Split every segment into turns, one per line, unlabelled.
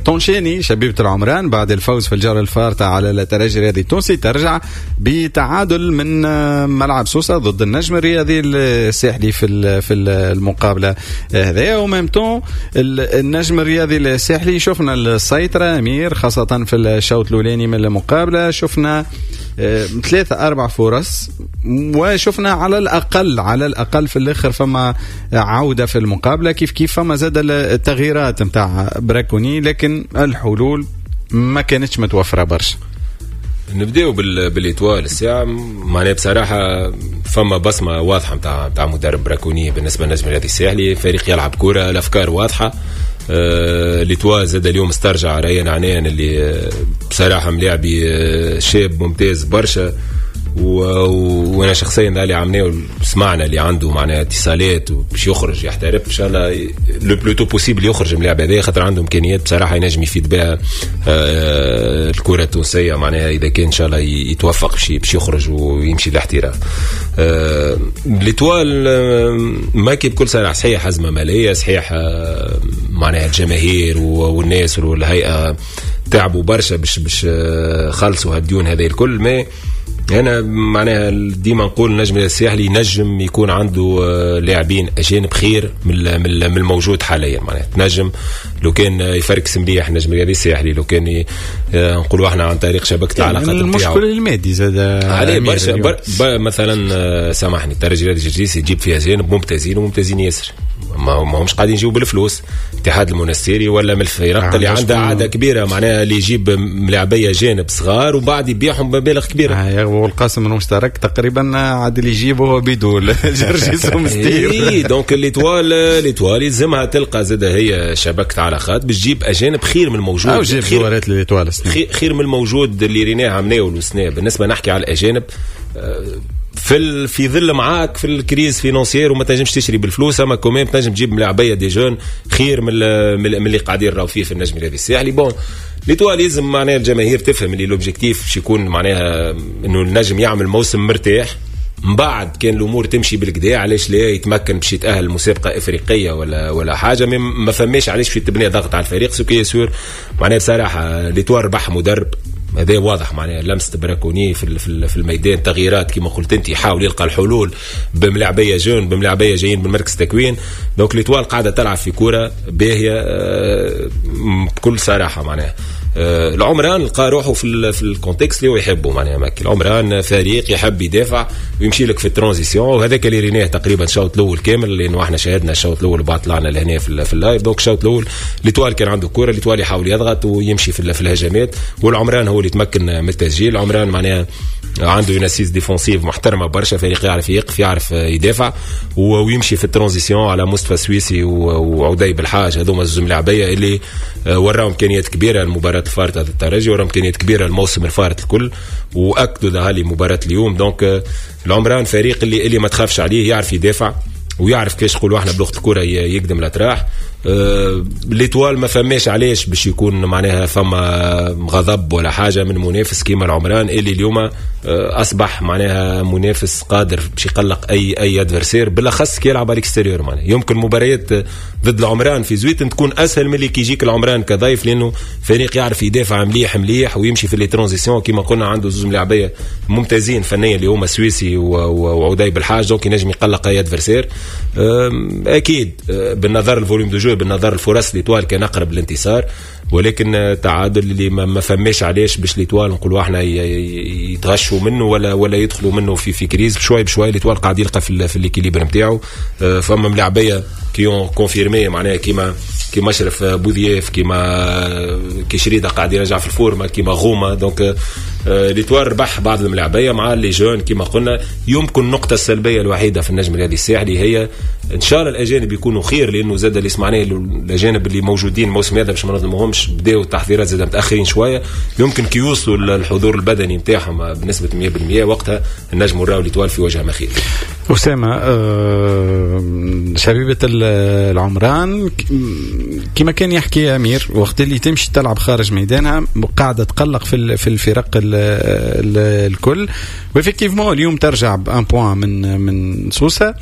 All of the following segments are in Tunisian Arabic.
تونشيني شبيبة العمران بعد الفوز في الجولة الفارطة على الترجي الرياضي التونسي، ترجع بتعادل من ملعب سوسة ضد النجم الرياضي الساحلي في المقابلة هذايا. و même temps النجم الرياضي الساحلي شفنا السيطرة أمير، خاصة في الشوط الأولاني من المقابلة، شفنا ثلاثة أربع فرص، وشفنا على الأقل في الآخر فما عودة في المقابلة. كيف كيف فما زاد التغييرات نتاع براكوني، لكن الحلول ما كانتش متوفرة برشا.
نبداو ب l'Étoile الساعة. معناها بصراحة فما بصمة واضحة نتاع مدرب براكوني بالنسبة للنجم الرياضي الساحلي. فريق يلعب كرة، الأفكار واضحة. L'Étoile زاد اليوم استرجع ريان عنان اللي بصراحة ملاعبي شاب ممتاز برشا، وانا شخصيا اللي عملناه سمعنا اللي عنده معناها اتصالات باش يخرج يحترف. ان شاء الله le plus tôt possible يخرج من اللاعب هذا، خاطر عنده امكانيات بصراحة ينجم يفيد بها الكره التونسيه، معناها اذا كان ان شاء الله يتوفق باش يخرج ويمشي للاحتراف. l'Étoile ماكي بكل صراحه، صحيح ازمة ماليه، صحيح معناها الجماهير والناس والهيئة تعبوا برشا باش خلصوا هالديون هذه الكل، mais انا معناها ديما نقول النجم الساحلي ينجم يكون عنده لاعبين اجانب خير من الموجود حاليا. معناها تنجم لو كان يفركس مليح النجم الرياضي الساحلي، لو كان نقولوا احنا عن طريق شبكة
يعني
العلاقات.
المشكل المادي زاد.
عليه برشا مثلا سامحني، الترجي الرياضي الجرجيسي يجيب فيها اجانب ممتازين وممتازين ياسر، ما همش قاعدين يجيبوا بالفلوس. الاتحاد المونستيري ولا من الفرق اللي عندها عادة كبيره، معناها اللي يجيب ملاعبيه جانب صغار وبعد يبيعهم بمبالغ كبيره.
والقاسم المشترك تقريبا عاد اللي يجيبه هو بيدو جرجيس ومستير.
اي، donc l'Étoile يلزمها تلقى زاد هي شبكة علاقات باش تجيب اجانب خير من الموجود.
او جيب جوارات l'Étoile.
خير من الموجود اللي ريناه عمناه والسنة. بالنسبة نحكي على الاجانب في ظل معاك في ال crise financière وما تنجمش تشري بالفلوس، اما quand même تنجم تجيب ملاعبيه des jeunes خير من اللي قاعدين راهو فيه في النجم الرياضي الساحلي. bon، l'Étoile لازم معناها الجماهير تفهم اللي l'objectif باش يكون معناها انه النجم يعمل موسم مرتاح، من بعد كان الامور تمشي بالقدا علاش لا يتمكن باش يتاهل مسابقة افريقية ولا حاجه. ما فماش علاش في تبني ضغط على الفريق، ce qui est sûr معناها بصراحة l'Étoile ربح مدرب، هذا واضح، معناها لمسه براكوني في الميدان، تغييرات كما قلت انت، يحاول يلقى الحلول بملاعبيه jeunes، بملاعبيه جايين من مركز تكوين. donc l'Étoile قاعدة تلعب في كورة باهيه بكل صراحه. معناها العمران لقى روحه في ال contexte اللي هو يحبه. معناها ماكي العمران فريق يحب يدافع ويمشي لك في ال transition، وهذاك اللي ريناه تقريبا الشوط الاول كامل، لانه احنا شاهدنا الشوط الاول وبعد طلعنا لهنا في ال live. donc الشوط الاول l'Étoile كان عنده كوره، l'Étoile يحاول يضغط ويمشي في الهجمات، والعمران هو اللي تمكن من التسجيل. العمران معناها عنده une assise défensive محترمه برشا، فريق يعرف يقف، يعرف يدافع ويمشي في ال transition على مصطفى سويسي وعدي بالحاج. هذوما زوز ملاعبيه اللي وراهم امكانيات كبيرة المباراة الفارطه ضد الترجي، وراهم امكانيات كبيرة الموسم الفارط الكل، واكدوا ذا مباراة اليوم. donc العمران فريق اللي ما تخافش عليه، يعرف يدافع ويعرف كيفاش نقولوا احنا بلغه الكره يقدم الاطراح. l'Étoile ما فماش علاش باش يكون معناها فما غضب ولا حاجة من منافس كيما العمران اللي اليوم اصبح معناها منافس قادر باش يقلق اي adversaire، بالاخص كي يلعب على l'extérieur. معناها يمكن مباريات ضد العمران في زويتن تكون اسهل من اللي كي يجيك العمران كضيف، لانه فريق يعرف يدافع مليح مليح ويمشي في les transitions. كيما قلنا عنده زوج ملاعبيه ممتازين فنيا اللي هما سويسي وعدي بالحاج، donc ينجم يقلق اي adversaire. اكيد بالنظر ال volume de jeu، بالنظر الفرص، l'Étoile كان اقرب للانتصار، ولكن تعادل اللي ما فماش علاش باش l'Étoile نقولوا احنا يتغشوا منه ولا يدخلوا منه في crise. بشوي بشوي l'Étoile قاعد يلقى في l'équilibre نتاعو. فما ملاعبيه qui ont confirmé، معناها كيما اشرف بوذياف، كيما كشريده قاعد يرجع في ال forme، كيما غوما. donc l'Étoile ربح بعض الملاعبيه مع les jeunes كيما قلنا. يمكن النقطة السلبية الوحيدة في النجم الرياضي الساحلي هي ان شاء الله الاجانب يكونوا خير، لانه زاد اللي سمعناه الاجانب اللي موجودين الموسم هذا، باش ما نظلموهمش، بداوا التحضيرات زاد متاخرين شويه. يمكن كي يوصلوا الحضور البدني نتاعهم بنسبة 100% وقتها النجم نراو l'Étoile في وجه ما خير.
أسامة، شبيبة العمران كما كان يحكي أمير، وقت اللي تمشي تلعب خارج ميدانها قاعدة تقلق في الفرق الكل، و effectivement اليوم ترجع ب un point من سوسة.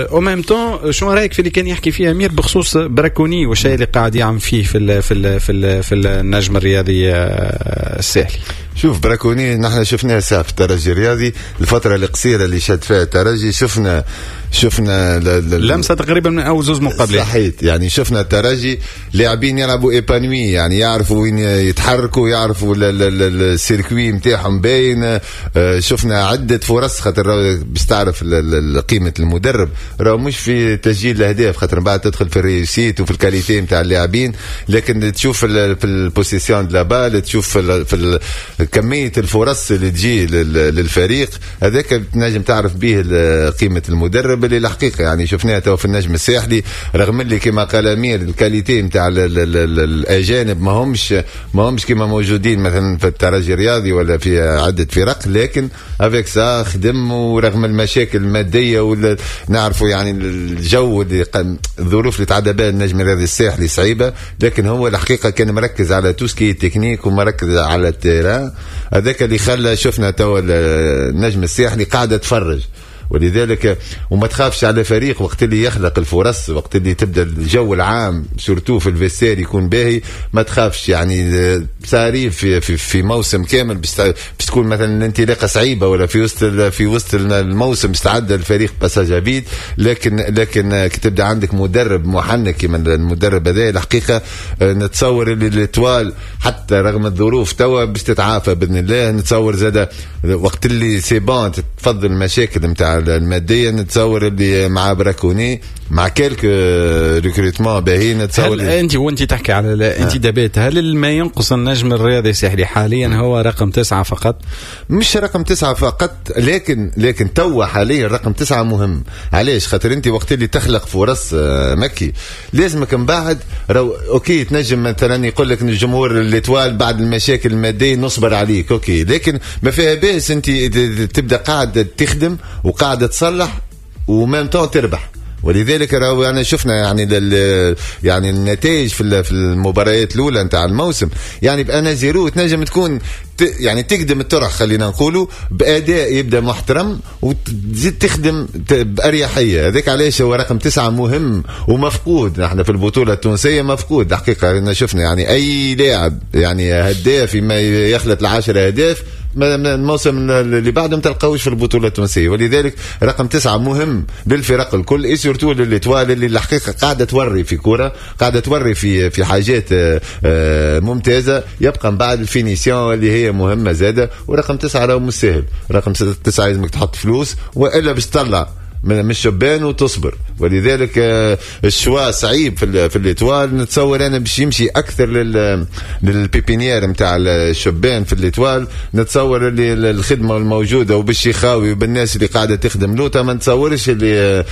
au même temps شنو رايك في اللي كان يحكي فيه امير بخصوص براكوني والشيء اللي قاعد يعمل فيه في النجم الرياضي الساحلي؟
شوف براكوني نحن شفناه ساعة في الترجي الرياضي، الفترة القصيرة اللي شاد فيها الترجي شفنا
لمسة تقريبا من أول زوز مقابلات.
صحيت، يعني شفنا الترجي لاعبين يلعبوا épanouis، يعني يعرفوا وين يتحركوا، يعرفوا ال circuit نتاعهم باين. شفنا عدة فرص، خاطر باش تعرف قيمة المدرب راهو مش في تسجيل الأهداف، خاطر من بعد تدخل في ال réussite وفي ال qualité نتاع اللاعبين، لكن تشوف في ال possession de la balle، تشوف في كمية الفرص اللي تجي للفريق هذاك، تنجم تعرف به قيمة المدرب اللي الحقيقة يعني شفناها تو في النجم الساحلي، رغم اللي كما قال أمير ال qualité نتاع الأجانب ما همش كما موجودين مثلا في الترجي الرياضي ولا في عدة فرق، لكن avec ça خدم، ورغم المشاكل المادية ولا نعرفوا يعني الجو اللي الظروف اللي تعدى بها النجم الرياضي الساحلي صعيبة، لكن هو الحقيقة كان مركز على tout ce qui est technique ومركز على ال terrain، هذاك اللي خلى شفنا تو النجم الساحلي قاعدة تفرج. ولذلك وما تخافش على فريق وقت اللي يخلق الفرص، وقت اللي تبدا الجو العام surtout في ال vestiaire يكون باهي، ما تخافش. يعني ça arrive في موسم كامل باش تكون مثلا الانطلاقة صعيبة، ولا في وسط الموسم باش تعدى الفريق passage à vide، لكن كي تبدا عندك مدرب محنك كيما المدرب هذا، الحقيقة نتصور اللي l'Étoile حتى رغم الظروف توا باش تتعافى باذن الله. نتصور زاد وقت اللي c'est bon تتفض المشاكل نتاع الماديه، نتصور اللي مع براكوني مع quelques recrutements باهيين نتصور.
هل انت وانت تحكي على الانتدابات، هل ما ينقص النجم الرياضي الساحلي حاليا هو رقم 9 فقط؟
مش رقم 9 فقط، لكن توا حاليا رقم 9 مهم. علاش؟ خاطر انت وقت اللي تخلق فرص مكي لازمك من بعد رو OK تنجم مثلا يقول لك الجمهور l'Étoile بعد المشاكل المادية نصبر عليك، OK، لكن ما فيها باس انت تبدا قاعد تخدم وقاعد تصلح و même temps تربح. ولذلك راهو يعني شفنا يعني النتائج في المباريات الاولى نتاع الموسم، يعني ب un à zéro تنجم تكون يعني تقدم الطرح خلينا نقولوا باداء يبدا محترم وتزيد تخدم باريحيه. هذاك علاش هو رقم 9 مهم ومفقود نحن في البطولة التونسيه، مفقود الحقيقه. شفنا يعني اي لاعب يعني هداف ما يخلط ال10 اهداف الموسم اللي بعده ما تلقاوش في البطولة التونسيه. ولذلك رقم 9 مهم للفرق الكل et surtout ل l'Étoile اللي الحقيقة قاعدة توري في كوره، قاعدة توري في حاجات ممتازه. يبقى من بعد ال finition اللي هي مهمة زاده، ورقم 9 راهو مش سهل. رقم 9 لازمك تحط فلوس والا باش تطلع من الشبان وتصبر. ولذلك ال choix صعيب في l'Étoile. نتصور انا باش يمشي اكثر لل pépinière نتاع الشبان في l'Étoile. نتصور اللي الخدمة الموجودة وبالشيخاوي وبالناس اللي قاعدة تخدم لوطا، ما نتصورش اللي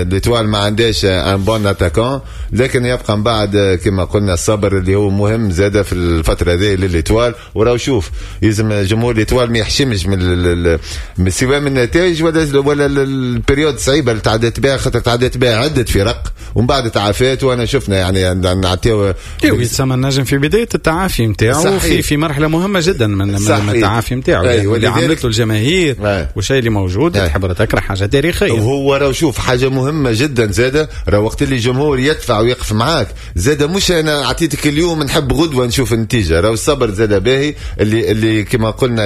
l'Étoile ما عندهاش un bon attaquant، لكن يبقى من بعد كما قلنا الصبر اللي هو مهم زاده في الفترة هذه ل l'Étoile. وراو شوف لازم جمهور l'Étoile ما يحشمش من سواء من النتائج ولا ال période صعيبة اللي تعدت بها، خاطر تعدت بها عده فرق ومن بعد تعافات، وانا شفنا يعني نعطيو
يتسمى النجم في بداية التعافي نتاعو، في مرحلة مهمة جدا من التعافي نتاعو اللي عملت له الجماهير والشيء اللي موجود، تحب ولا تكره حاجة تاريخيه.
وهو راه شوف حاجة مهمة جدا زاده، راه وقت اللي الجمهور يدفع ويقف معاك زاده، مش انا اعطيتك اليوم نحب غدوه نشوف النتيجه. راهو الصبر زاده باهي اللي كما قلنا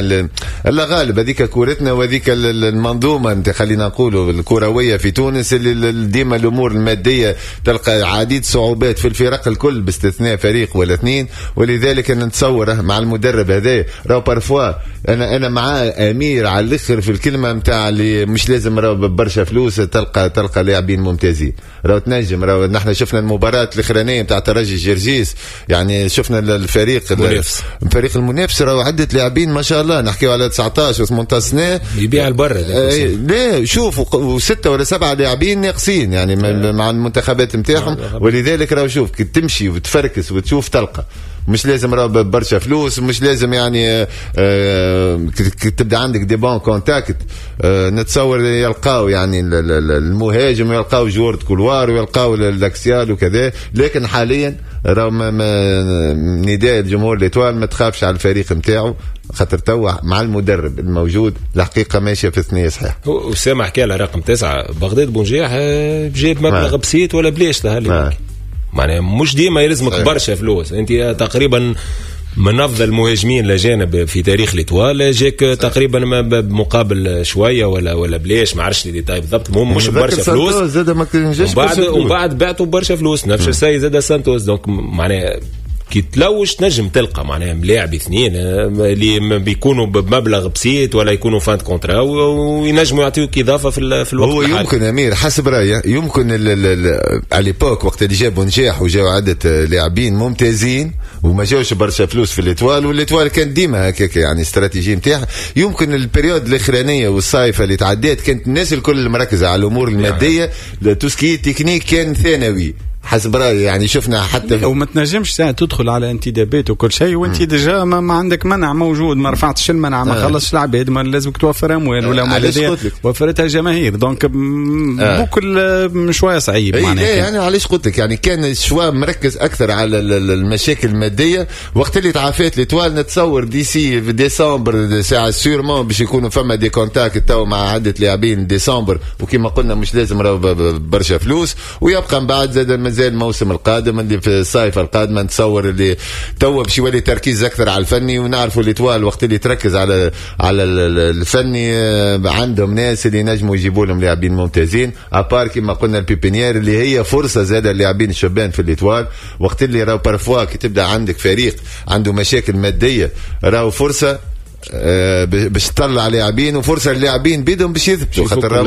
الله غالب هذيك كورتنا وهذيك المنظومة انت خلينا نقولوا الكروية في تونس، اللي ديما الامور المادية تلقى عديد صعوبات في الفرق الكل باستثناء فريق ولا اثنين. ولذلك انا نتصور مع المدرب هذا راهو parfois انا مع امير على الاخر في الكلمة نتاع اللي مش لازم راهو برشا فلوس تلقى لاعبين ممتازين. راهو تنجم، راهو نحن شفنا المباراة الاخرانية نتاع ترجي جرجيس، يعني شفنا الفريق
المنافس.
الفريق المنافس راهو عده لاعبين ما شاء الله، نحكيو على 19 و 18 سنه.
يبيع البر.
لا شوف وستة ولا سبعة لاعبين ناقصين يعني مع المنتخبات نتاعهم. ولذلك راهو شوف كي تمشي وتفركس وتشوف تلقى، مش لازم راه برشا فلوس، مش لازم يعني تبدا عندك des bons contacts نتصور يلقاو يعني المهاجم ويلقاو joueur couloir ويلقاو l'axial وكذا. لكن حاليا راهو نداء الجمهور l'Étoile ما تخافش على الفريق نتاعو، خاطر توا مع المدرب الموجود الحقيقة ماشية في ثنيه صحيح.
اسامة حكى على رقم 9 بغداد بونجاح جاب مبلغ بسيط ولا بلاش ظهر، معناها مش ديما يلزمك برشا فلوس. انت تقريبا من افضل المهاجمين الاجانب في تاريخ l'Étoile جاك تقريبا بمقابل شوية ولا بلاش، ما عرفش les détails بالضبط، المهم مش برشا فلوس. ومن بعد بعتوا برشا فلوس نفس الشيء زاد سانتوس. donc معناها كي تلوش تنجم تلقى معناها ملاعب اثنين اللي بيكونوا بمبلغ بسيط ولا يكونوا fin de contrat وينجموا يعطيوك اضافه في الوقت.
هو يمكن امير حسب رايي يمكن على l'époque وقت اللي جابوا نجاح وجاوا عده لاعبين ممتازين وما جاوش برشا فلوس في l'Étoile، و l'Étoile كان ديما هكاك يعني استراتيجية نتاعها. يمكن ال période الاخرانية والصيفه اللي تعدات كانت الناس الكل مركزه على الامور المادية، tout ce qui technique كان ثانوي حسب رايي. يعني شفنا حتى
وما تنجمش ساعة تدخل على انتدابات وكل شيء وانت déjà ما عندك منع موجود، ما رفعتش المنع، ما خلصش العباد، ما لازمك توفر اموال ولا اموال وفرتها الجماهير. donc بكل شوية صعيب
معناها. يعني علاش قلت لك يعني كان ال choix مركز اكثر على المشاكل المادية. وقت اللي تعافات l'Étoile نتصور d'ici في ديسمبر ساعة sûrement باش يكونوا فما des contacts تو مع عده لاعبين ديسمبر، وكما قلنا مش لازم راهو برشا فلوس، ويبقى من بعد زاد مازال الموسم القادم اللي في الصيف القادم نتصور اللي توا باش يولي تركيز اكثر على الفني. ونعرفوا l'Étoile وقت اللي تركز على الفني عندهم ناس اللي نجموا يجيبوا لهم لاعبين ممتازين، à part كما قلنا ال pépinière اللي هي فرصة زاد اللاعبين الشبان في l'Étoile. وقت اللي راهو parfois كي تبدا عندك فريق عنده مشاكل مادية راهو فرصة باش تطلع لاعبين، وفرصه للاعبين بيدهم باش يثبتوا، خاطر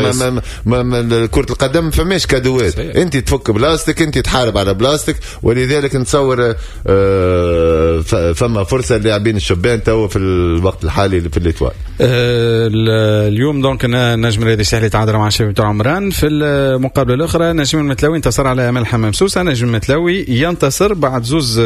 ما كره القدم فماش cadeau ات، انت تفك بلاصتك، انت تحارب على بلاصتك. ولذلك نتصور فما فرصة للاعبين الشبان تو في الوقت الحالي في l'Étoile.
اليوم donc نجم الرياضي الساحلي تعادل مع شبيبة عمران. في المقابلة الاخرى نجم المتلوي انتصر على امل حمام سوسة. نجم المتلوي ينتصر بعد زوز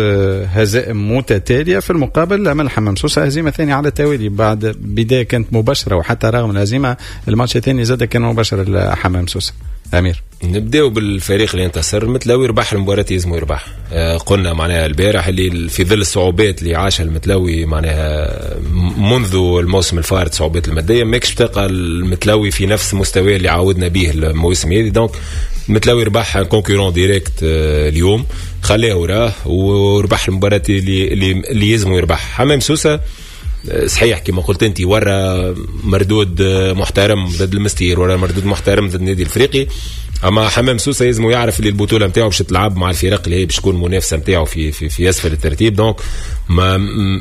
هزائم متتالية. في المقابل امل حمام سوسة هزيمة ثانية على التوالي بعد بداية كانت مباشرة، وحتى رغم الهزيمة الماتش الثاني زاد كان مباشر لحمام سوسة. أمير
نبداو بالفريق اللي انتصر، المتلوي ربح المباراة يلزمو يربح. قلنا معناها البارح اللي في ظل الصعوبات اللي عاشها المتلوي معناها منذ الموسم الفارط، صعوبات المادية، ماكش تلقى المتلوي في نفس مستواه اللي عودنا به الموسم هذه. donc المتلوي ربح concurrent direct اليوم، خلاه وراه وربح المباراة اللي يلزمو يربح. حمام سوسة صحيح كما قلت انت ورا مردود محترم ضد المستير، ورا مردود محترم ضد النادي الافريقي، اما حمام سوسة لازم يعرف اللي البطولة نتاعو باش تلعب مع الفرق اللي هي باش تكون منافسه نتاعو في في في اسفل الترتيب. donc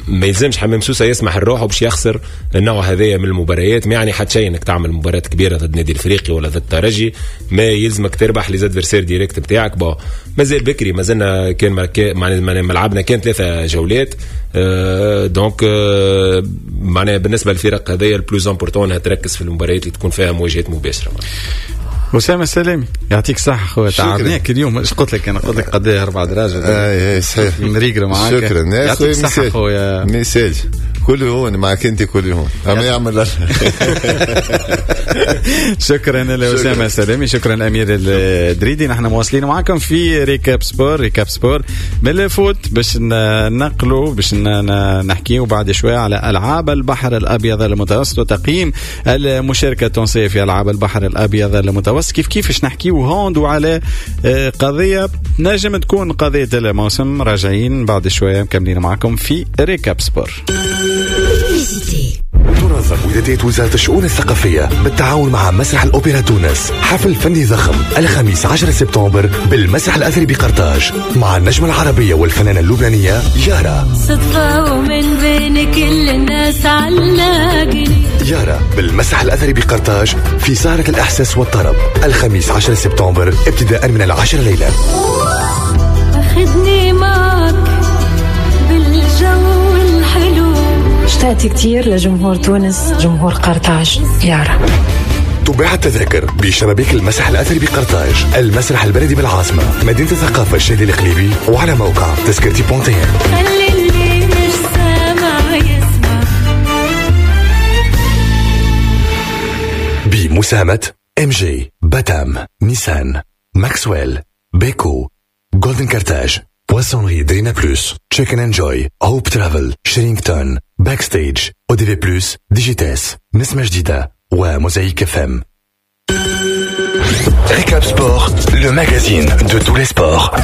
ما يلزمش حمام سوسة يسمح لروحه باش يخسر النوع هذايا من المباريات. ما يعني حتى شيء انك تعمل مباراة كبيرة ضد النادي الافريقي ولا ضد الترجي، ما يلزمك تربح les adversaires directs نتاعك. bon مازال بكري، مازلنا كان ما لعبنا كان 3 جولات. donc معناها بالنسبة للفرق هذايا ال plus important انها تركز في المباريات اللي تكون فيها مواجهات مباشرة.
أسامة السلامي يعطيك الصحة خويا، تعبناك اليوم. ايش قلت لك؟ أنا قلت لك قد 4 دراجة.
اي صحيح
مريقل معاك.
شكرا
يعطيك الصحة خويا.
message كل هون معك انت كل هون عم يعمل.
شكرا لأسامة السلامي، شكرا أمير الدريدي. نحن مواصلين معكم في Récap Sport. Récap Sport من ال foot باش نقلوا باش نحكيو بعد شوية على ألعاب البحر الأبيض المتوسط وتقييم المشاركة التونسية في ألعاب البحر الأبيض المتوسط. كيف كيفاش نحكيو hand وعلى قضية نجم تكون قضية الموسم. راجعين بعد شوية مكملين معكم في Récap Sport.
تنظم ودادية وزارة الشؤون الثقافية بالتعاون مع مسرح الأوبرا تونس حفل فني ضخم الخميس 10 سبتمبر بالمسرح الأثري بقرطاج مع النجمة العربية والفنانة اللبنانية يارا.
صدفة ومن بين كل الناس علاقني.
يارا بالمسرح الأثري بقرطاج في سهرة الإحساس والطرب الخميس 10 سبتمبر ابتداء من 10 ليلا.
أخذني معك بالجو الحلو.
اشتقت كتير لجمهور تونس، جمهور قرطاج. يارا.
تباع التذاكر بشبابيك المسرح الأثري بقرطاج، المسرح البلدي بالعاصمة، مدينة الثقافة الشادي الإقليمي، وعلى موقع تذكرتي بونتين.
خلي اللي مش سامع يسمع.
بمساهمة MG، باتام، نيسان، ماكسويل، بيكو، جولدن كارتاج، Poissonnerie Drina Plus, Check and Enjoy, Hope Travel, Sherrington, Backstage, ODV Plus, Digites, نسمة جديدة و Mosaïque FM. Récap Sport, le magazine de tous les sports.